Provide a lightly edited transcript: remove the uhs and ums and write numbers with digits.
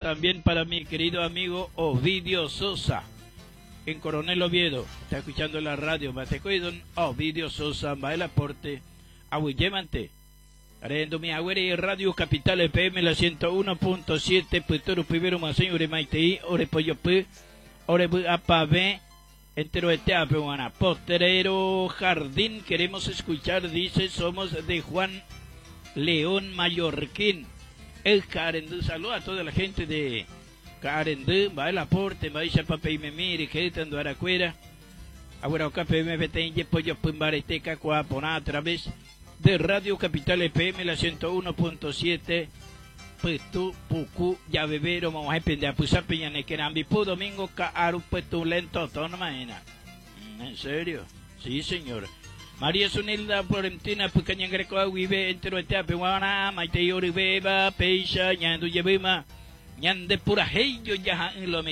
También para mi querido amigo Ovidio Sosa en Coronel Oviedo. Está escuchando la radio. Bateco y don Ovidio Sosa. Va el aporte. Aguyemante. Arendo mi agüere Radio Capital FM la 101.7 Puturu Pibero Maseño Ore Maitei Ore Pollo P Ore Bu Apa B Entero Eteape Guana Potrero Jardín queremos escuchar dice somos de Juan León Mallorquín el Carendú saluda a toda la gente de Carendú va el aporte va a papel me mire que tando aracuera Ahora café me vete pollo pumbareteca cuapona a través de Radio Capital FM la 101.7 Putu, Pucu, Yavevero, vamos a pende a Pusapeña, Nequerambi, Pu, Domingo, Kaaru, Putu, Lento, Tonmaena. ¿En serio? Sí, señor. María Sunilda Florentina, Pucaña Greco, Aguibe, Entero, Eteape, Guana, Maite, Yoribeba, Peisha, Ñandu, Yebima, Ñande, Pura, Heyo, Yaja, Lo.